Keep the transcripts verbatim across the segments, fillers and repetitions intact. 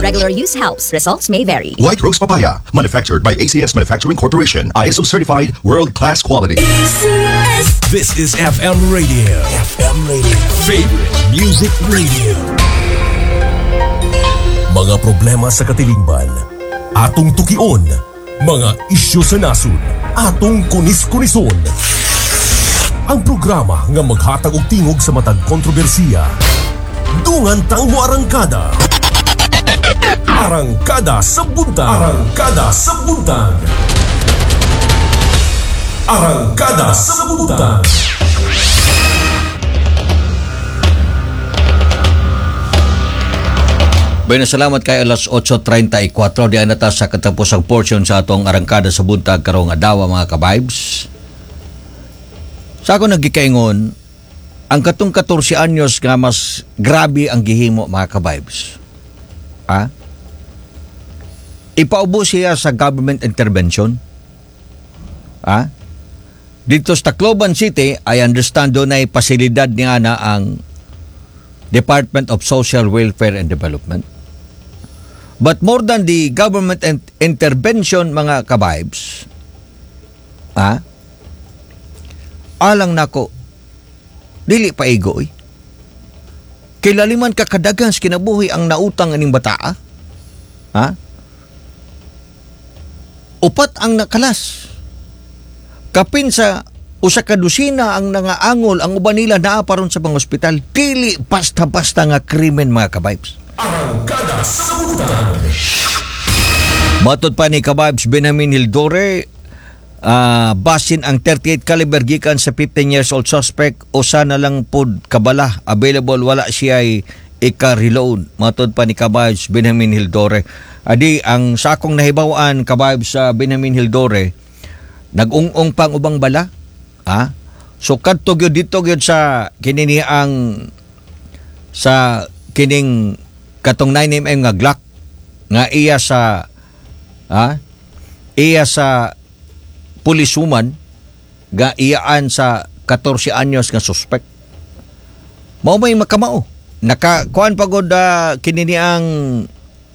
Regular use helps. Results may vary. White Rose Papaya, manufactured by A C S Manufacturing Corporation, I S O certified, world-class quality. This is F M Radio. F M Radio. Favorite Music Radio. Mga problema sa katilingban, atong tukion. Mga isyu sa nasod, atong kunis-kunison. Ang programa nga maghatag og tingog sa matag kontrobersiya. Dungan tang moarangkada. Arangkada sa Buntag. Arangkada sa Buntag. Arangkada sa Buntag. Bueno, salamat kay alas otso treinta y kuwatro di na ta sa katapusang portion sa atong Arangkada sa Buntag karong adlaw, mga ka-vibes. Sa ako nagkikaingon, ang katong katorse anyos nga mas grabe ang gihimo, mga ka-vibes. Ha? Ipaubos siya sa government intervention. Ha? Dito sa Tacloban City, I understand doon ay pasilidad niya na ang Department of Social Welfare and Development. But more than the government and intervention, mga ka-vibes, ha? Alang nako, dili pa igo eh. Kilaliman ka kadaghan sa kinabuhi ang nautang aning bataa. Ha? Upat ang nakalas. Kapin sa usa ka dosina ang nangaangol, ang uban nila naa pa ron sa mga ospital. Dili basta-basta nga krimen, mga ka-vibes. Arangkada sa Buntag. Matod pa ni ka-vibes Benjamin Hildore, ah, basin ang thirty-eight caliber gikan sa fifteen years old suspect, usa na lang pod kabala available, wala siya ay ika-reload. Matod pa ni ka-vibes Benjamin Hildore. Adi ang sa akong nahibaw-an, ka-vibes sa Benjamin Hildore, nag-ung-ong pang ubang bala. Ha? So kadto gyud dito gyud sa kini ang sa kining katong nine millimeter nga Glock nga iya sa ha iya sa policewoman ga iyaan sa katorse anyos nga suspect. Mao may makamao. Naka kuan pagod uh, kini ni ang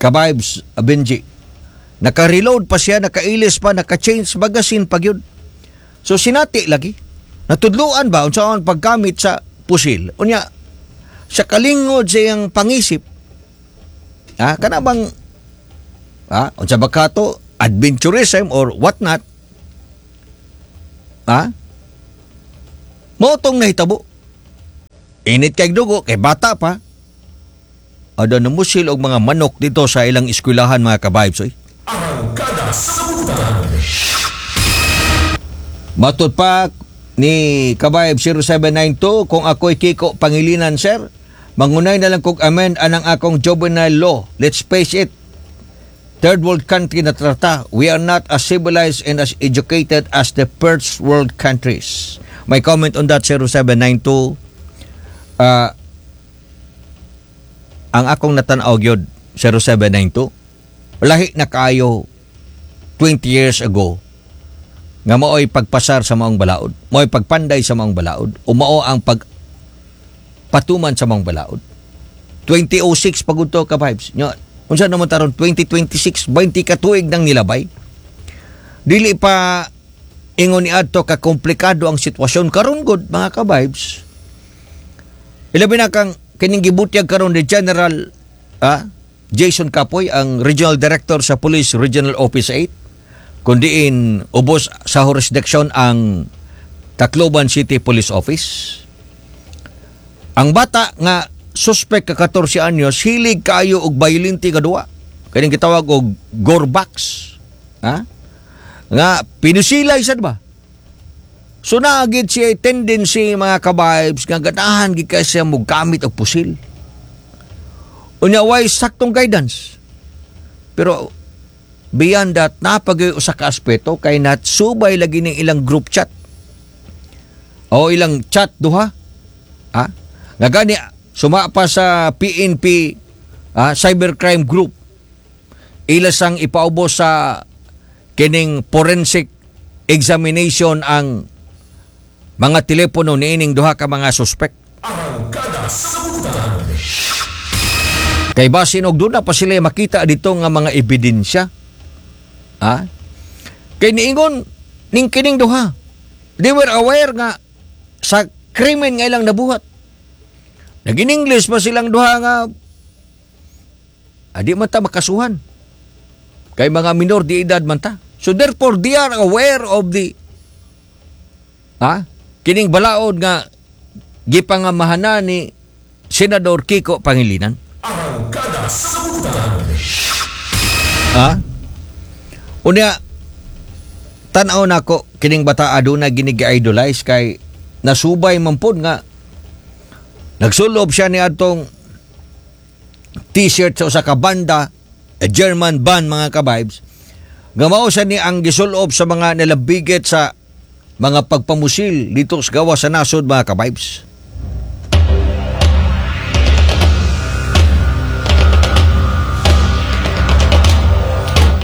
ka-vibes uh, Benji. Naka-reload pa siya, nakailis pa, naka-change magazine pa gyud. So sinati lagi. Natudluan ba unsa ang paggamit sa pusil? Unya sa kalingod sa iyang pangisip, ha, kana bang ha, unsa ba kato adventurism or what not? Ha? Mao tong nahitabo. Init kay dugo kay bata pa. Ada namusil og mga manok dito sa ilang eskwelahan, mga ka-vibes oy. Arangkada sa Buntag. Matod pa ni ka-vibe zero seven nine two, "Kung ako'y Kiko Pangilinan, sir, mangunay na lang kog amend anang akong juvenile law. Let's face it, third world country na trata. We are not as civilized and as educated as the first world countries." My comment on that, zero seven nine two, uh, ang akong natanaw gyud, zero seven nine two, lahi na kayo twenty years ago nga mao'y pagpasar sa maong balaod, mao'y pagpanday sa maong balaod, o mao ang pag patuman sa maong balaod. two thousand six pagud to, ka-vibes. Nyo, unsa naman taron twenty twenty-six, twenty ka tuig nang nilabay. Dili pa ingon ni adto ka komplikado ang sitwasyon karon gud, mga ka-vibes. Ilabi na kang kining gibutyag karon ni General ah, Jason Capoy, ang Regional Director sa Police Regional Office eight, kundiin ubos sa jurisdiction ang Tacloban City Police Office. Ang bata nga suspect ka katorse anyos, hilig kayo og violente nga duwa. Kaning gitawag og Gorbax. Ha? Nga pinusilay sad ba? So naagid siya tendency, mga ka-vibes, nga ganahan gid kay siya mo gamit og pusil. Unya way saktong guidance. Pero beyond that, napagay usa ka aspeto kay natsubay lagi ning ilang group chat. O ilang chat duha. Ha? Nga gani suma pa sa P N P ah, Cybercrime Group. Ila sang ipaubos sa kining forensic examination ang mga telepono niining duha ka mga suspect. Arangkada sa Buntag. Kay basin og duna pa sila makita dito nga mga ebidensya. Ha? Kay niingon ning kining duha. They were aware nga sa krimen nga ilang nabuhat. Nag-in-English pa silang duha nga adi man ta makasuhan. Kay mga minor de edad man ta. So therefore they are aware of the, ha? Kining balaod nga gipangamahanan ni Senador Kiko Pangilinan. Arangkada sa Butang. Ha? Unya, tan-aw nako kining bata, aduna gini gi-idolize kay nasubay man pod nga nagsulob siya ni atong T-shirt sa usa ka banda, a German band, mga ka-vibes, nga mao sa ni ang gisulob sa mga nalabigit sa mga pagpamusil dito sa gawas sa nasod, mga ka-vibes.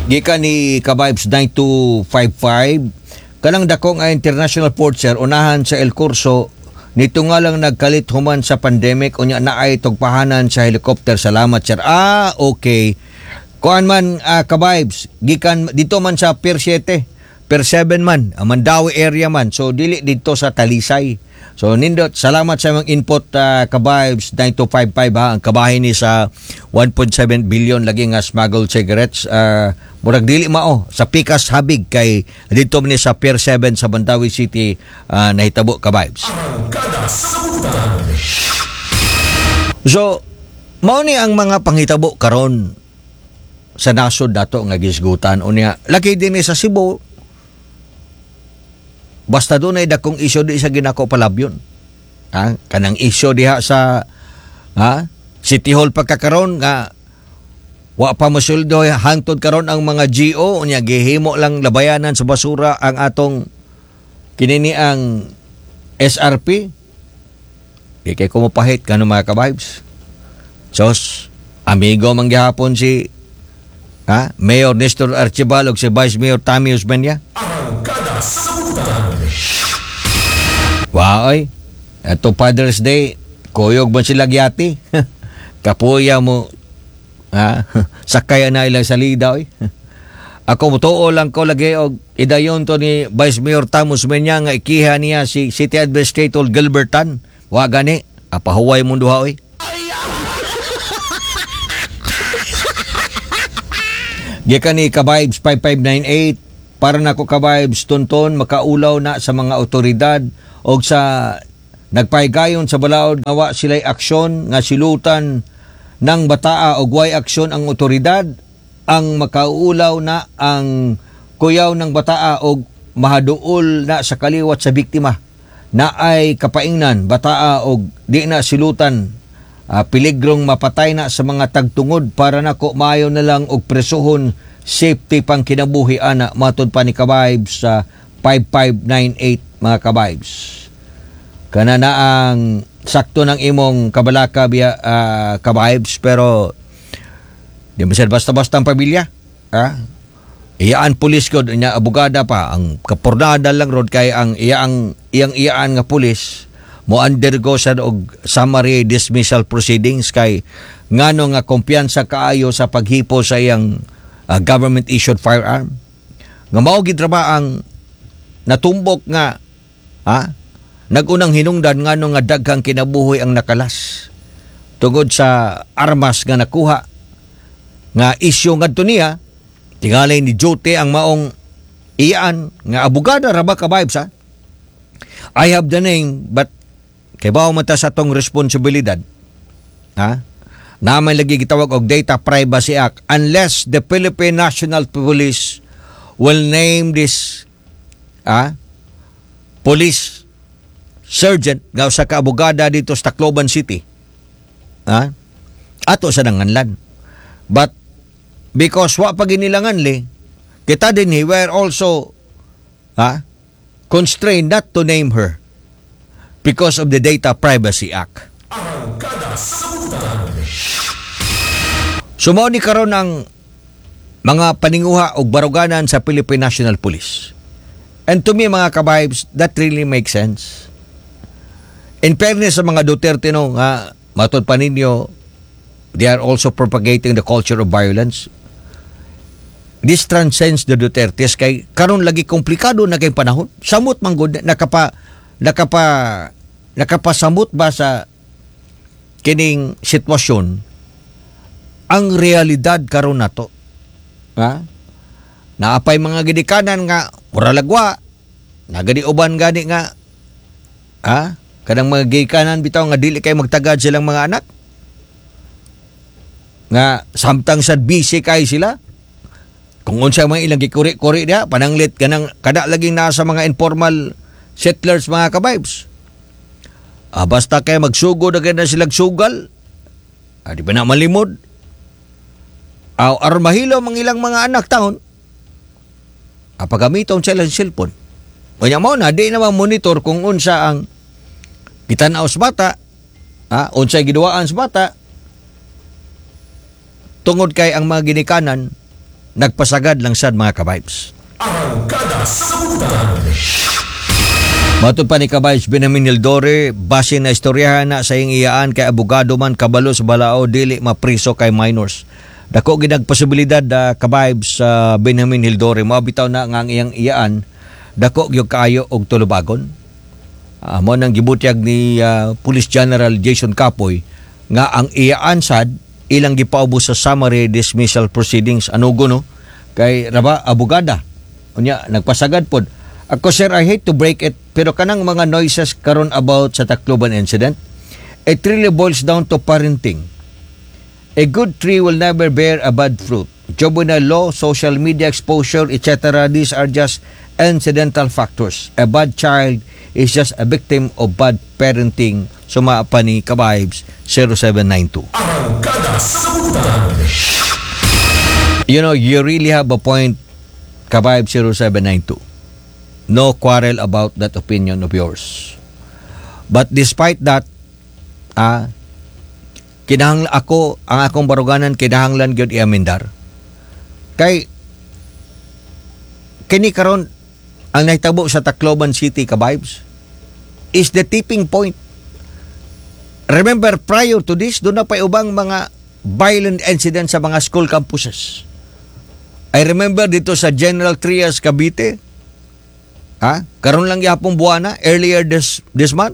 Gikan ni Kabibes nine two five five, kanang dako nga international port, sir, unahan sa El Corso nito nga lang nagkalit human sa pandemic, unya naay tugpahanan sa helicopter. Salamat, sir. Ah, okay. Kuan man, uh, Kabibes, gikan dito man sa Pier seven, Pier seven man, ah, Mandaue area man, so dili dito sa Talisay. So nindot, salamat sa mga input, uh, Kabibes nine two five five, ha. Ang kabahin ni sa one point seven billion lagi nga smuggled cigarettes, uh, murag dili mao sa Pikas Habig kay dito man ni sa Pier seven sa Mandaue City uh, nahitabo, Kabibes. Arangkada sa Butang. So mao ni ang mga panghitabo karon sa nasod dato nga gisgutan. Unya lagi din ni sa Cebu, basta dunay dakong isyu, di sa ginako palabyon, ha? Kanang isyu diha sa, ha, City Hall pagkakaron nga wa pa mosuldo hangtod karon ang mga G O. Unya gihimo lang labayanan sa basura ang atong kinini ang S R P. Di kay kumupahit kano, mga ka-vibes. Sos, amigo man gihapon si, ha, Mayor Nestor Archival ug si Vice Mayor Tommy Osmeña. Arangkada sa Butang. Waoy. Ato Father's Day, kuyog man sila gyati. Kapuya mo, ha? Sakay na ilang salida oy. Ako mutuo lang ko lagi og idayon to ni Vice Mayor Tamo Osmeña nga ikiha niya si City Administrator Gilbertan. Wa gani, apahuway mong duha oy. Gikan ni Kabibes five five nine eight, para nako, Kabibes Tonton, makaulaw na sa mga otoridad og sa nagpahigayon sa balaod nga wa sila'y aksyon nga silutan ng bataa og way aksyon ang otoridad. Ang makaulaw na ang kuyaw ng bataa og mahaduol na sa kaliwat sa biktima na ay kapaingnan bataa og di na silutan, uh, piligrong mapatay na sa mga tagtungod. Para nako, maayo na lang og presohon, safety pang kinabuhi ana, matod pa ni Kabibes sa five five nine eight, mga kabibes. Kana na ang sakto ng imong kabalaka biya, uh, Kabibes, pero di mo sir basta-basta ang pamilya, ha? Iyaan pulis ko nya, abogada pa ang kapurnada lang rod kay ang iyaang iyang iyaan nga pulis mo undergo sa og summary dismissal proceedings kay ngano nga kumpiyansa kaayo sa paghipo sa iyang uh, government issued firearm nga mao gid ra ba ang natumbok nga, ha, nagunang hinungdan ngano nga daghang kinabuhi ang nakalas tungod sa armas nga nakuha nga isyu ngadto niya. Tingali ni duty ang maong iyaan nga abogada ra ba, ka-vibes, ha. I have the name, but kay bawo man ta sa atong responsibilidad, ha, naman lagi gitawag og Data Privacy Act. Unless the Philippine National Police will name this, ah, police sergeant nga usa ka abogada dito sa Tacloban City, ha, ato sa nanganlan. But because wa pa ginilangan li kita din, we were also, ha, constrained not to name her because of the Data Privacy Act. Arangkada sa Butang. So mao ni karon ang mga paninguha og baruganan sa Philippine National Police. And to me, mga kabibes, that really makes sense. In fairness sa mga Duterte, no, nga matod pa ninyo They are also propagating the culture of violence. This transcends the Dutertes kay karon lagi komplikado na kay panahon. Samot man gud, nakapa nakapa nakapasamot ba sa kining sitwasyon ang realidad karon nato. Ha? Naapay mga gidikanan nga mura lagwa, nagadi uban gani nga, ha? Kanang mga gikanan bitaw nga dili kay magtagad silang mga anak. Nga samtang sad busy kay sila. Kung unsa mga ilang gikuri-kuri diha, pananglit kanang kada laging nasa mga informal settlers, mga kabibes. Ah, basta kay magsugod na kay na silang sugal. Ah, di ba na malimod? Aw, aron mahilo mga ilang mga anak taon. Ah, pagamiton sila ng cellphone. Unya mo na, di na monitor kung unsa ang gitanaw sa bata, ah, unsay giduwaan sa bata, tungod kay ang mga ginikanan nagpasagad lang sad, mga kabibes. Arangkada sa Butan. Matod pa ni Kabibes Benjamin Hildore, base na istoryahan na sa iyang iyaan kay abogado man, kabalo sa balaod, dili mapriso kay minors. Dako gyud ang posibilidad, uh, Kabibes sa uh, Benjamin Hildore, mao bitaw na nga ang iyang iyaan dako gyud kaayo og tulubagon. Uh, mo nang gibutyag ni uh, Police General Jason Capoy nga ang iyaan sad ilang gipaubos sa summary dismissal proceedings. Ano no kay raba abogada, unya nagpasagad pod. Ako, sir, I hate to break it, pero kanang mga noises karon about sa Tacloban incident, it really boils down to parenting. A good tree will never bear a bad fruit. Juvenile law, social media exposure, et cetera. These are just incidental factors. A bad child is just a victim of bad parenting. Suma pa ni Kabibes zero seven nine two. Arangkada sa Butan. You know, you really have a point, Kabibes zero seven nine two. No quarrel about that opinion of yours. But despite that, ah, kinahanglan ako, ang akong baruganan, kinahanglan gyud iamendar. Kay kini karon ang nahitabo sa Tacloban City, Kabibes, is the tipping point. Remember, prior to this, doon na pa ubang mga violent incidents sa mga school campuses. I remember dito sa General Trias, Cavite. Ha? Karon lang yapong buwana, earlier this this month.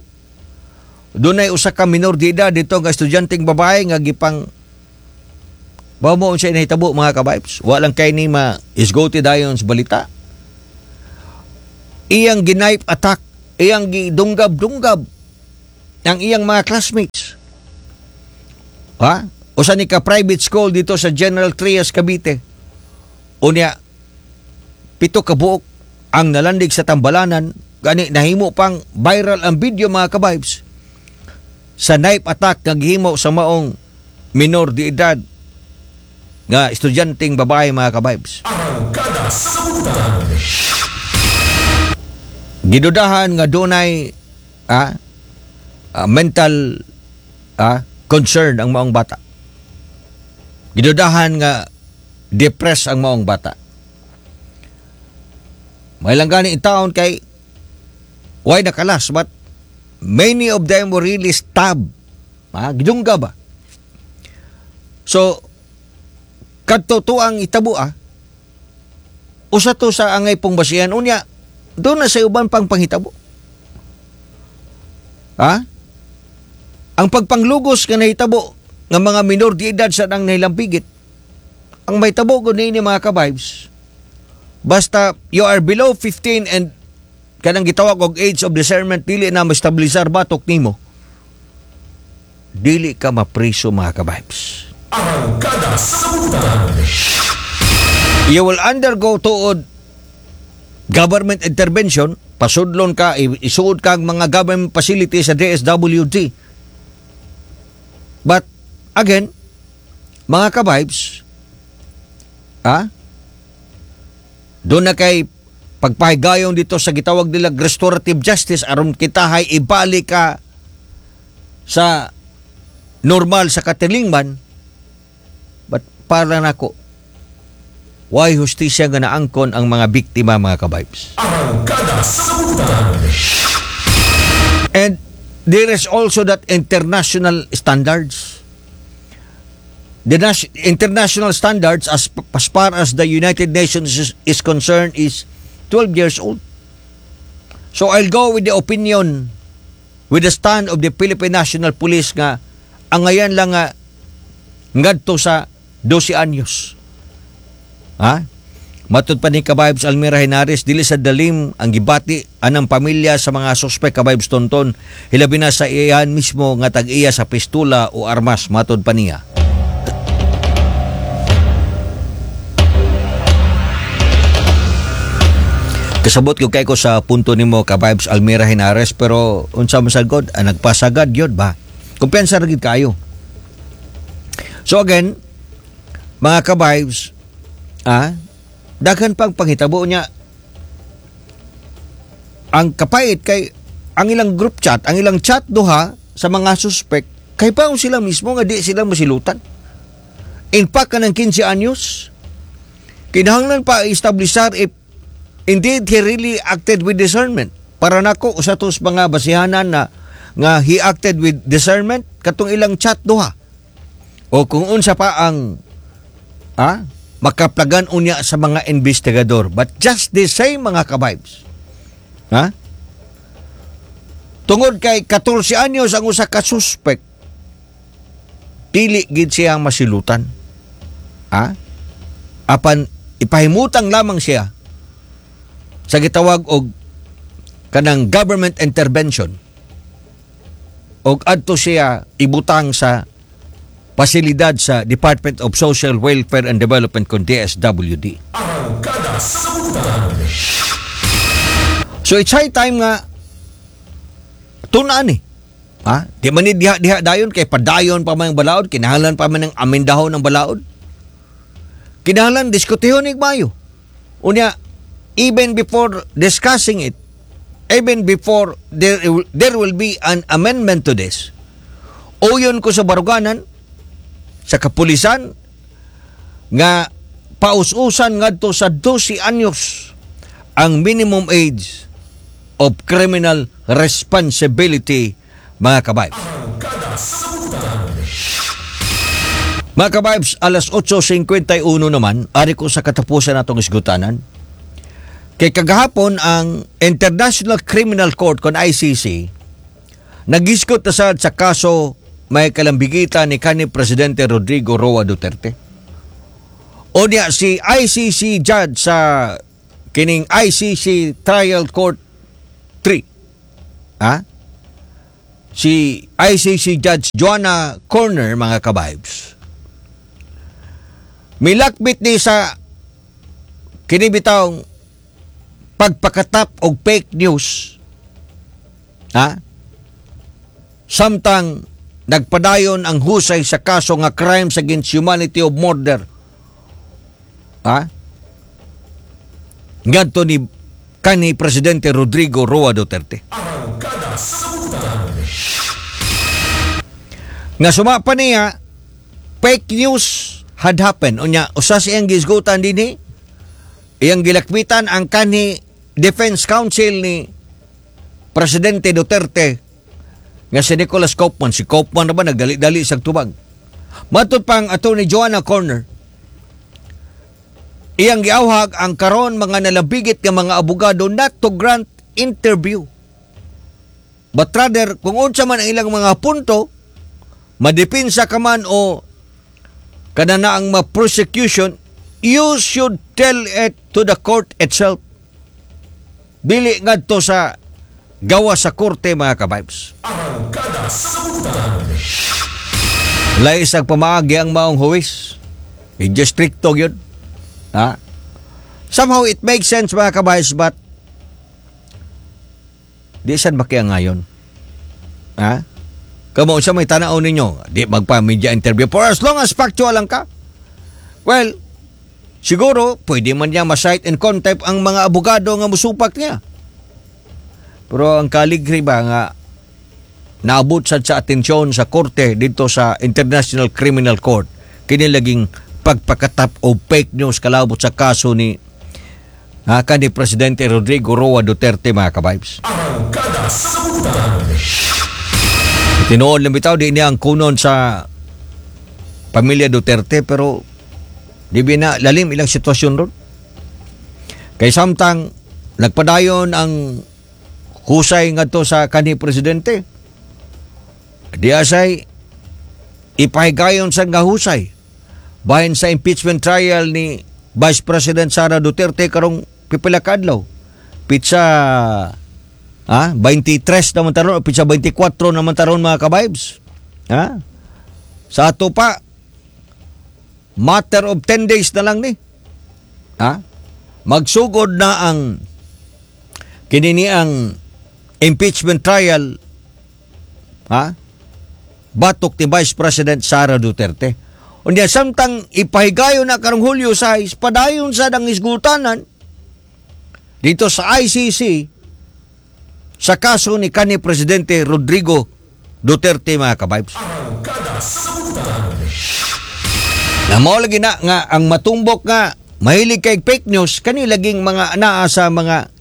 Doon ay usa ka minor de edad dito nga estudyanteng babae nga gipang ba mo unsay nahitabo, mga kabibes. Walang kay ni ma isgoti dayon sa balita. Iyang gi-knife attack, iyang gidunggab-dunggab ang iyang mga classmates. Ha? Usa ni ka private school dito sa General Trias, Cavite. Unya pito ka buok ang nalandig sa tambalanan, gani nahimo pang viral ang video, mga kabibes, sa knife attack nga gihimo sa maong minor de edad nga estudyanteng babae, mga kabibes. Arangkada sa Butan. Gidudahan nga dunay ah, ah, mental ah, concern ang maong bata. Gidudahan nga depressed ang maong bata. May lang gani in town kay why nakalas, but many of them were really stabbed. Ah, gidungga ba? So kadto to ang itabo, ah. Usa to sa angay pong basihan, unya doon na sa uban pang panghitabo. Ha? Ang pagpanglugos nga nahitabo nga mga minor de edad sa nang nahilampigit. Ang mahitabo gud niini, mga kabibes, basta you are below fifteen and kanang gitawag og age of discernment, dili na ma-stabilisar batok nimo, dili ka mapriso, mga kabibes. Arangkada sa Butan. You will undergo tuod government intervention, pasudlon ka, i- isuod ka ang mga government facilities sa D S W D. But again, mga kabibes, ah, doon na kay pagpahigayon dito sa gitawag nila restorative justice aron kita hay ibalik ka sa normal sa katilingban. But para nako, why hustisya nga naangkon ang mga biktima, mga kabibes? Arangkada sa Butan. And there is also that international standards. The nas- international standards as, as far as the United Nations is, is concerned is twelve years old. So I'll go with the opinion, with the stand of the Philippine National Police nga ang ngayon lang nga ngadto sa dose anyos. Ha? Matud pa ni Kabibes Almira Henares, dili sa dalim ang gibati anang pamilya sa mga suspek, Kabibes Tonton, hilabi na sa iyan mismo nga tag-iya sa pistola o armas, matud pa niya. Kasabot ko kay ko sa punto nimo, Kabibes Almira Henares, pero unsa man sad god, ang nagpasagad yun ba? Kumpiyansa ra gid kayo. So again, mga kabibes, ah, daghan pang panghitabo niya. Ang kapait kay ang ilang group chat, ang ilang chat duha sa mga suspect, kay pa sila mismo nga di sila masilutan. In fact, kanang kinse anyos, kinahanglan pa establisar if indeed he really acted with discernment. Para nako usa tos mga basihanan na nga he acted with discernment katong ilang chat duha. O kung unsa pa ang ah, makaplagan unya sa mga investigador. But just the same, mga kabibes. Ha? Tungod kay katorse anyos ang usa ka suspect, dili gid siya masilutan. Ha? Apan ipahimutang lamang siya sa gitawag og kanang government intervention og adto siya ibutang sa pasilidad sa Department of Social Welfare and Development kon D S W D. Arangkada sa Butang. So it's high time nga tunaan eh. Ha? Di man ni diha-diha dayon kay padayon pa man ang balaod, kinahanglan pa man ang amendahon ng balaod. Kinahanglan diskutihon ig maayo. Unya, even before discussing it, even before there there will be an amendment to this, uyon ko sa baruganan, sa kapulisan, nga paus-usan ngadto sa dose anyos ang minimum age of criminal responsibility, mga kabibes. Arangkada sa Butang. Mga kabibes, alas otso singkwenta y uno naman, ari ko sa katapusan natong isgutanan. Kay kagahapon ang International Criminal Court kon I C C nagisgot na sad sa kaso may kalambigitan ni kanhi Presidente Rodrigo Roa Duterte. O niya si I C C judge sa kining I C C Trial Court three. Ha? Si I C C Judge Joanna Korner, mga kabibes. Milakbit ni sa kini bitawng pagpakatap og fake news. Ha? Samtang nagpadayon ang husay sa kaso nga crimes against humanity of murder. Ha? Ngadto ni kanhi Presidente Rodrigo Roa Duterte. Arangkada sa Butang. Nga suma pa niya, fake news had happened. Unya, usa sa iyang gisgutan dinhi, iyang gilakbitan ang kanhi Defense Counsel ni Presidente Duterte nga si Nicholas Kaufman. Si Kaufman na ba nagdali-dali sa tubag. Matod pang Attorney Joanna Korner, iyang giawhag ang karon mga nalabigit nga mga abogado not to grant interview. But rather, kung unsa man ang ilang mga punto, madipinsa ka man o kanana ang ma-prosecution, you should tell it to the court itself. Dili ngadto sa gawa sa korte, mga kabibes. Arangkada sa Butang. Lahi sa pamaagi ang maong huwis. Medyo stricto yun. Ha? Somehow it makes sense, mga kabibes, but di sad makiya ngayon. Ha? Kamo sa may tanaw ninyo, di magpa-media interview for as long as factual lang ka. Well, siguro pwede man niya ma-cite in contempt ang mga abogado nga musupak niya. Pero ang kaligri ba nga naabot sad sa atensyon sa korte dito sa International Criminal Court kini laging pagpakatap o fake news kalabot sa kaso ni ha, ni Presidente Rodrigo Roa Duterte, mga kabibes. Arangkada sa Butang. Tinuod lang bitaw di niya ang kunon sa pamilya Duterte, pero di ba na lalim ilang sitwasyon ron? Kay samtang nagpadayon ang husay ngadto sa kanhi presidente, di asay ipahigayon sa nga husay bahin sa impeachment trial ni Vice President Sara Duterte karong pipila ka adlaw. Petsa ah twenty-three naman taron o petsa twenty-four naman taron, mga ka-vibes. Ha? Sa ato pa, matter of ten days na lang ni. Ha? Magsugod na ang kinini ang impeachment trial, ha, batok ni Vice President Sara Duterte. Unya samtang ipahigayon na karong Hulyo sais, padayon sa ang isgutanan dito sa I C C sa kaso ni kanhi Presidente Rodrigo Duterte, mga ka-vibes. Arangkada sa Butang. Na mao lagi na nga ang matumbok nga mahilig kay fake news kani laging mga naa sa mga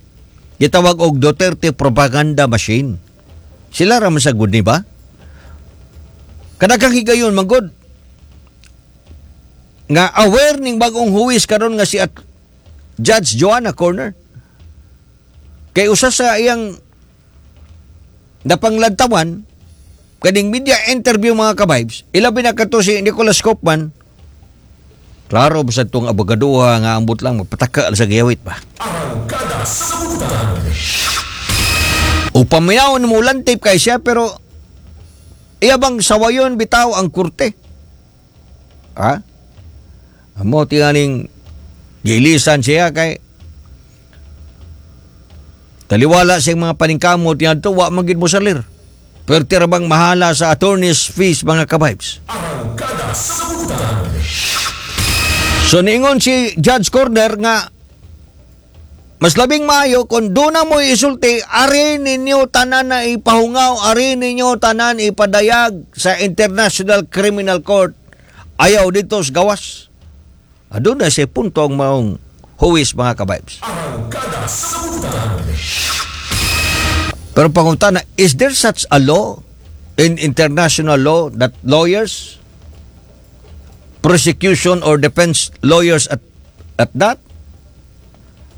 gitawag og Duterte propaganda machine. Sila ra man sa good ni ba? Kadaghang higayon man gud nga aware ning bagong huwis karon nga si at Judge Joanna Corner. Kay usa sa iyang napanglantawan kaning media interview, mga ka-vibes, ilabi na kato si Nicholas Kaufman. Klaro ba sa itong abogaduha nga ambot lang magpataka sa giyawit ba? Arangkada sa Butang. O paminawon mo lantip kay siya, pero iya bang sawayon bitaw ang korte? Ha? Amo tinganing gilisan siya kay taliwala siyang mga paningkamot niya wa man gid mo salir. Pero tira bang mahala sa attorney's fees, mga ka-vibes? Arangkada sa Butang. So niingon si Judge Corner nga mas labing maayo kung doon na mo isulti, ari ninyo tanan na ipahungaw, ari ninyo tanan ipadayag sa International Criminal Court. Ayaw dito sa gawas. Aduna na siya punto ang maong huwis, mga ka-vibes. Arangkada sa Butang. Pero pangutana, is there such a law in international law that lawyers, prosecution or defense lawyers at at that,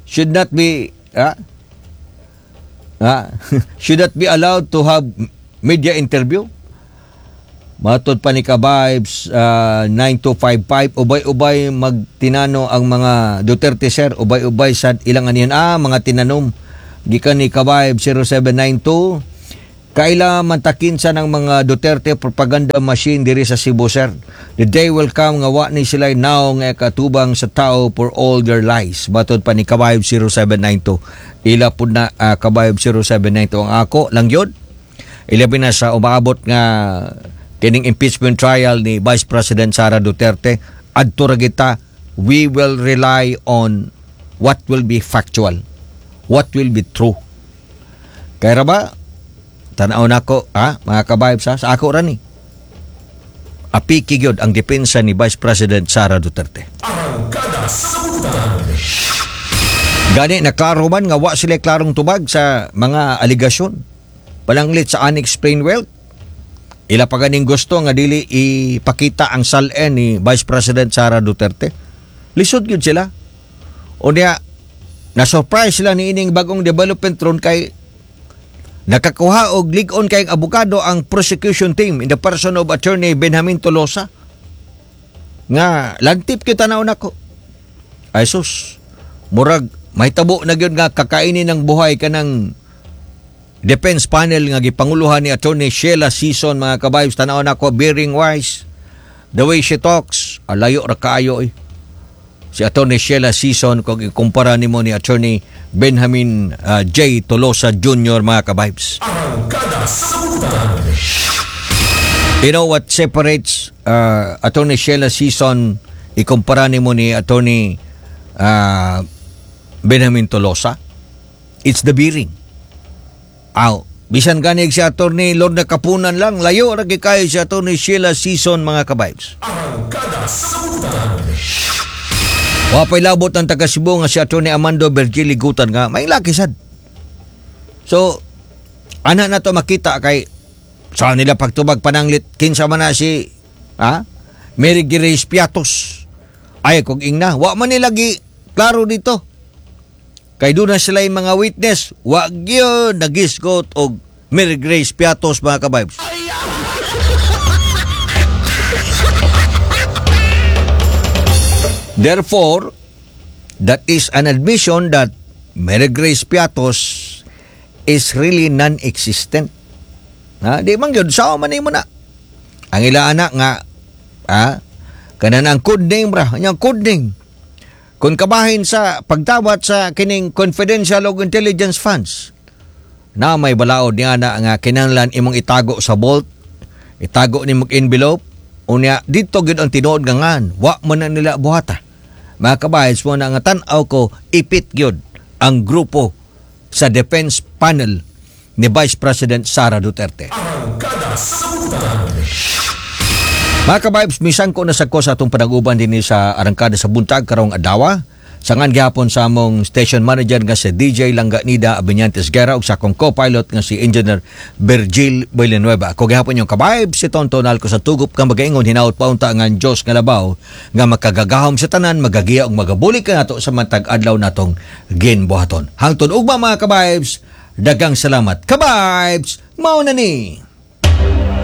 should not be ah, ah, should not be allowed to have media interview? Matod pa ni Ka-Vibes ah, nine two five five, ubay-ubay magtinano ang mga Duterte, sir, ubay-ubay sa ilang aniyan ah, mga tinanom. Gikan ni Ka-Vibes zero seven nine two, kaila mantakin sa ng mga Duterte propaganda machine diri sa Cebu, sir. The day will come nga wa ni sila naong nga katubang sa tao for all their lies. Matod pa ni Ka-Vibe zero seven nine two. Ila pud na uh, Ka-Vibe zero seven nine two. Ang ako lang yun. Ilabi na sa umaabot nga kining impeachment trial ni Vice President Sara Duterte, adto ra kita, we will rely on what will be factual, what will be true. Kaya ra ba tanaw nako ha, mga ka-vibes ha, sa ako ra ni apiki gyud ang depensa ni Vice President Sara Duterte. Arangkada sa Butang. Gani naklaro man nga wa sila klarong tubag sa mga aligasyon. Pananglit sa unexplained wealth. Ila pa ganing gusto nga dili ipakita ang S A L N ni Vice President Sara Duterte. Lisod gyud sila. O niya, na-surprise sila ni ining bagong development ron kay nakakuha og lig-on kay abogado ang prosecution team in the person of Attorney Benjamin Tolosa. Nga lantip kita na nako. Ay sus, murag mahitabo na gyud nga kakainin ng buhay kanang defense panel nga gipanguluhan ni Attorney Sheila Sison, mga ka-vibes. Tanaw nako, bearing wise, the way she talks, alayo ra kaayo eh si Attorney Sheila Sison kung ikumpara nimo ni Attorney Benjamin uh, J. Tolosa Junior, mga ka-vibes. Arangkada sa Butang. You know what separates uh, Attorney Sheila Sison ikumpara nimo ni Attorney uh, Benjamin Tolosa? It's the bearing. Aw, bisan ganig si Attorney Lorna Kapunan lang, layo ra kay kayo si Attorney Sheila Sison, mga ka-vibes. Arangkada sa Butang. Wa pa'y labot ang taga Cebu nga si Attorney Amando Virgili Gutan nga may laki sad. So, ana na to makita kay sa nila pagtubag pananglit kinsa man na si ha? Mary Grace Piatos. Ay kog ingna, wa man nila gi klaro dito. Kay doon na sila yung mga witness, wa gyud nagisgot og Mary Grace Piatos, mga ka-vibes. Therefore, that is an admission that Mary Grace Piatos is really non-existent. Ha? Di man gyud, sao man nimo na. Ang ila anak nga, ha? Kanan ang code name ra, anyang code name. Kung kabahin sa pagdawat sa kining confidential og intelligence funds, na may balaod niya na nga kinahanglan imong itago sa vault, itago nimong envelope, unya dito gyud ang tinuod nga ngan, wa man na nila buhata. Mga kabahin, mo na nga tan-aw ko, ipit gyud ang grupo sa defense panel ni Vice President Sara Duterte. Arangkada sa Buntag. Mga ka-vibes, misan ko na sa ko sa atong panag-uban din sa Arangkada sa Buntag karong adlaw. Sangan gihapon sa among station manager nga si D J Langganida Abinyantes Guerra ug sa akong co-pilot nga si Engineer Virgil Villanueva. Ako gihapon yung ka-vibes, si Tonton Alco sa tugup nga magaingon hinaut paunta nga ang Dios nga labaw nga makagagahom sa tanan magagiya ug magabulig kanato sa matag adlaw natong ginbuhaton. Hangtod ugma, mga ka-vibes, dagang salamat. Ka-vibes, mao na ni.